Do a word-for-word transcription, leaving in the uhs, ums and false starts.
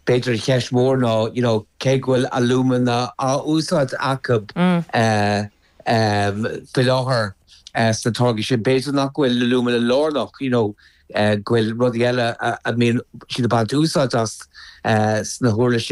B'fhéidir cheist mhór ná you know, cé go bhfuil alúmana á úsáid acu mm. uh, um, faoi láthair uh, sna táirgí sin b'fhéidir nach bhfuil alúmana lárnach you know, uh, go bhfuil rudaí eile a mbíonn siad ag baint úsáid as uh, sna huirlisí.